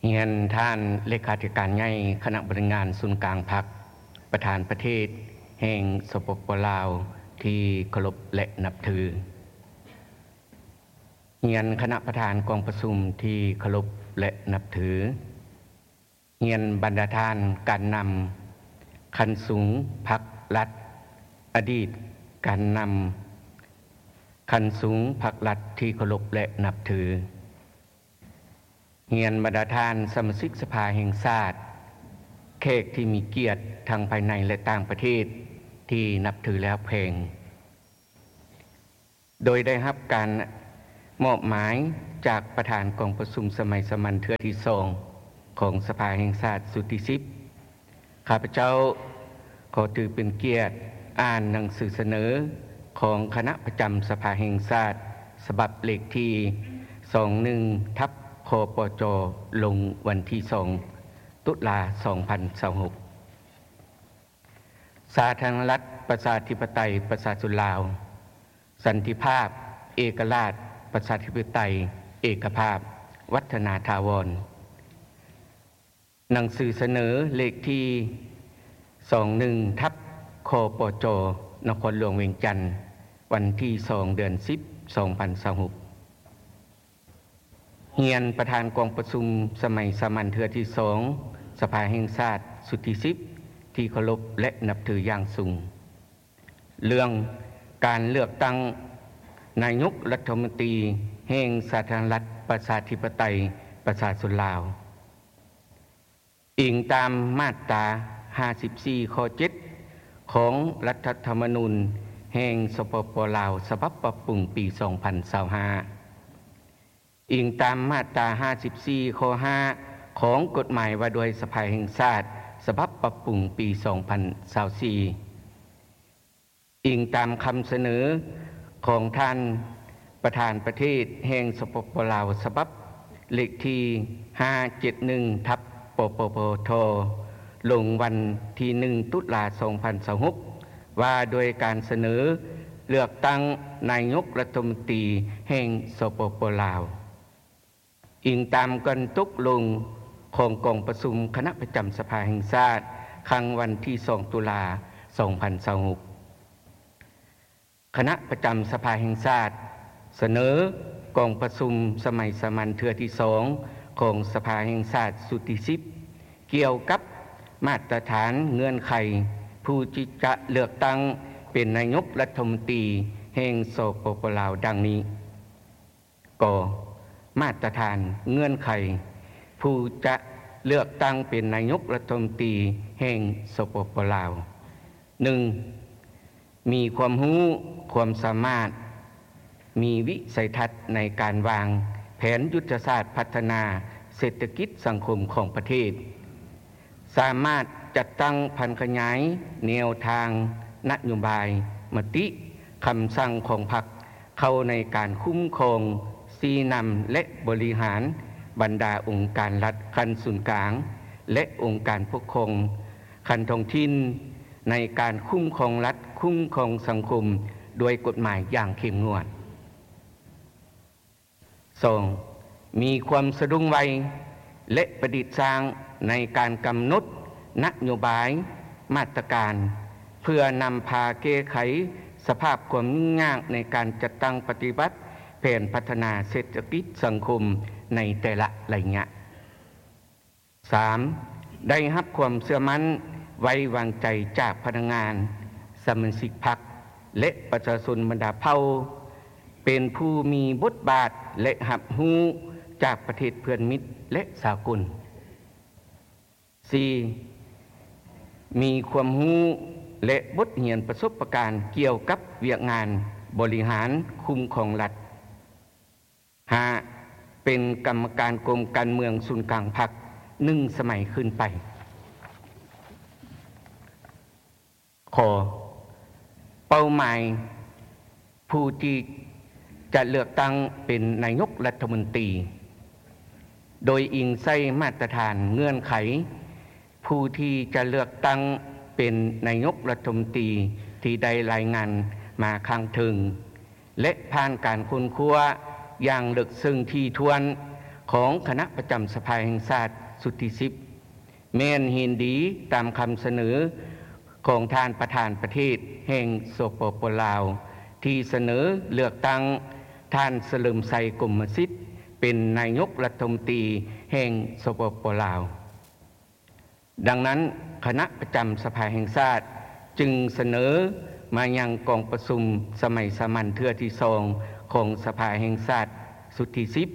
ຮຽນທ່ານເລຂາທິການໃຫຍ່ຄະນະບໍລິຫານສູນກາງພັກ, ປະທານປະເທດແຫ່ງ ສປປ ລາວ ທີ່ເຄົາລົບ ແລະ ນັບຖື. ຮຽນຄະນະປະທານກອງປະຊຸມທີ່ເຄົາລົບ ແລະ ນັບຖື. ຮຽນບັນດາທ່ານການນຳຂັ້ນສູງພັກລັດ, ອະດີດການນຳຂັ້ນສູງພັກລັດທີ່ເຄົາລົບ ແລະ ນັບຖື. ຮຽນບັນດາທ່ານສະມາຊິກສະພາແຫ່ງຊາດ, ແຂກທີ່ມີກຽດທັງພາຍໃນ ແລະ ຕ່າງປະເທດທີ່ນັບຖື ແລະ ຮັກແພງ. ໂດຍໄດ້ຮັບການມອບໝາຍຈາກປະທານກອງປະຊຸມສະໄໝສາມັນເທື່ອທີສອງຂອງສະພາແຫ່ງຊາດຊຸດທີສິບ, ຂ້າພະເຈົ້າຂໍຖືເປັນກຽດອ່ານໜັງສືສະເໜີຂອງຄະນະປະຈຳສະພາແຫ່ງຊາດ ສະບັບເລກທີສອງໜຶ່ງ ທັບ ຄປຈ ລົງວັນທີສອງ ຕຸລາ ສອງພັນຊາວຫົກ. ສາທາລະນະລັດ ປະຊາທິປະໄຕ ປະຊາຊົນລາວ, ສັນຕິພາບ, ເອກະລາດ, ປະຊາທິປະໄຕ, ເອກະພາບ, ວັດທະນາຖາວອນ. ໜັງສືສະເໜີເລກທີສອງໜຶ່ງ ທັບ ຄປຈ ນະຄອນຫຼວງວຽງຈັນ, ວັນທີສອງ ເດືອນສິບ ສອງພັນຊາວຫົກ. ຮຽນປະທານກອງປະຊຸມສະໄໝສາມັນເທື່ອທີສອງ ສະພາແຫ່ງຊາດຊຸດທີສິບ ທີ່ເຄົາລົບ ແລະ ນັບຖືຢ່າງສູງ. ເລື່ອງການເລືອກຕັ້ງນາຍົກລັດຖະມົນຕີແຫ່ງສາທາລະນະລັດ ປະຊາທິປະໄຕ ປະຊາຊົນລາວ. ອີງຕາມມາດຕາຫ້າສິບສີ່ ຂໍ້ເຈັດ ຂອງລັດຖະທຳມະນູນແຫ່ງ ສປປ ລາວ ສະບັບປັບປຸງປີສອງພັນຊາວຫ້າ, ອີງຕາມມາດຕາຫ້າສິບສີ່ ຂໍ້ຫ້າ ຂອງກົດໝາຍວ່າດ້ວຍສະພາແຫ່ງຊາດ ສະບັບປັບປຸງປີສອງພັນຊາວສີ່. ອີງຕາມຄຳສະເໜີຂອງທ່ານປະທານປະເທດແຫ່ງ ສປປ ລາວ ສະບັບເລກທີຫ້າເຈັດໜຶ່ງ ທັບ ປປປທ ລົງວັນທີໜຶ່ງ ຕຸລາ ສອງພັນຊາວຫົກ ວ່າດ້ວຍການສະເໜີເລືອກຕັ້ງນາຍົກລັດຖະມົນຕີແຫ່ງ ສປປ ລາວ. ອີງຕາມການຕົກລົງຂອງກອງປະຊຸມຄະນະປະຈຳສະພາແຫ່ງຊາດ ຄັ້ງວັນທີສອງ ຕຸລາ ສອງພັນຊາວຫົກ, ຄະນະປະຈຳສະພາແຫ່ງຊາດສະເໜີກອງປະຊຸມສະໄໝສາມັນເທື່ອທີສອງຂອງສະພາແຫ່ງຊາດຊຸດທີສິບ ກ່ຽວກັບມາດຕະຖານເງື່ອນໄຂຜູ້ທີ່ຈະເລືອກຕັ້ງເປັນນາຍົກລັດຖະມົນຕີແຫ່ງ ສປປ ລາວ ດັ່ງນີ້. ກ. ມາດຕະຖານເງື່ອນໄຂຜູ້ຈະເລືອກຕັ້ງເປັນນາຍົກລັດຖະມົນຕີແຫ່ງ ສປປ ລາວ. ໜຶ່ງ. ມີຄວາມຮູ້, ຄວາມສາມາດ, ມີວິໄສທັດໃນການວາງແຜນຍຸດທະສາດພັດທະນາເສດຖະກິດສັງຄົມຂອງປະເທດ. ສາມາດຈັດຕັ້ງຜັນຂະຫຍາຍແນວທາງນະໂຍບາຍ, ມະຕິ, ຄຳສັ່ງຂອງພັກເຂົ້າໃນການຄຸ້ມຄອງ, ຊີ້ນຳ ແລະ ບໍລິຫານບັນດາອົງການລັດຂັ້ນສູນກາງ ແລະ ອົງການປົກຄອງຂັ້ນທ້ອງຖິ່ນ ໃນການຄຸ້ມຄອງລັດ, ຄຸ້ມຄອງສັງຄົມດ້ວຍກົດໝາຍຢ່າງເຂັ້ມງວດ. ສອງ. ມີຄວາມສະດຸ້ງໄວ ແລະ ປະດິດສ້າງໃນການກຳນົດນະໂຍບາຍ, ມາດຕະການ ເພື່ອນຳພາແກ້ໄຂສະພາບຄວາມຫຍຸ້ງຍາກໃນການຈັດຕັ້ງປະຕິບັດແຜນພັດທະນາເສດຖະກິດສັງຄົມໃນແຕ່ລະໄລຍະ. ສາມ. ໄດ້ຮັບຄວາມເຊື່ອໝັ້ນໄວ້ວາງໃຈຈາກພະນັກງານ, ສະມາຊິກພັກ ແລະ ປະຊາຊົນບັນດາເຜົ່າ ເປັນຜູ້ມີບົດບາດ ແລະ ຮັບຮູ້ຈາກປະເທດເພື່ອນມິດ ແລະ ສາກົນ. ສີ່. ມີຄວາມຮູ້ ແລະ ບົດຮຽນປະສົບປະການກ່ຽວກັບວຽກງານບໍລິຫານຄຸ້ມຄອງລັດ. ຫ້າ. ເປັນກຳມະການກົມການເມືອງສູນກາງພັກໜຶ່ງສະໄໝຂຶ້ນໄປ. ຂໍ ເປົ້າໝາຍຜູ້ທີ່ຈະເລືອກຕັ້ງເປັນນາຍົກລັດຖະມົນຕີ ໂດຍອີງໃສ່ມາດຕະຖານເງື່ອນໄຂ ຜູ້ທີ່ຈະເລືອກຕັ້ງເປັນນາຍົກລັດຖະມົນຕີທີ່ໄດ້ລາຍງານມາຂ້າງເທິງ ແລະ ຜ່ານການຄົ້ນຄວ້າຢ່າງເລິກເຊິ່ງຖີ່ຖ້ວນ ຂອງຄະນະປະຈຳສະພາແຫ່ງຊາດຊຸດທີສິບ ແມ່ນເຫັນດີຕາມຄຳສະເໜີຂອງທ່ານປະທານປະເທດແຫ່ງ ສປປ ລາວ ທີ່ສະເໜີເລືອກຕັ້ງທ່ານສະເຫຼີມໄຊ ກົມມະສິດ ເປັນນາຍົກລັດຖະມົນຕີແຫ່ງ ສປປ ລາວ. ດັ່ງນັ້ນ, ຄະນະປະຈຳສະພາແຫ່ງຊາດຈຶ່ງສະເໜີມາຍັງກອງປະຊຸມສະໄໝສາມັນເທື່ອທີສອງຂອງສະພາແຫ່ງຊາດຊຸດທີສິບ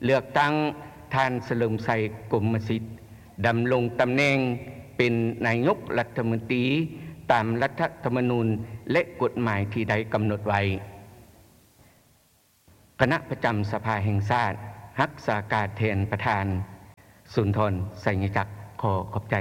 ເລືອກຕັ້ງທ່ານສະເຫຼີມໄຊ ກົມມະສິດ ດຳລົງຕຳແໜ່ງເປັນນາຍົກລັດຖະມົນຕີຕາມລັດຖະທຳມະນູນ ແລະ ກົດໝາຍທີ່ໄດ້ກຳນົດໄວ້. ຄະນະປະຈຳສະພາແຫ່ງຊາດ ຮັກສາການແທນປະທານ ສຸນທອນ ໄຊຍະຈັກ ຂໍຂອບໃຈ.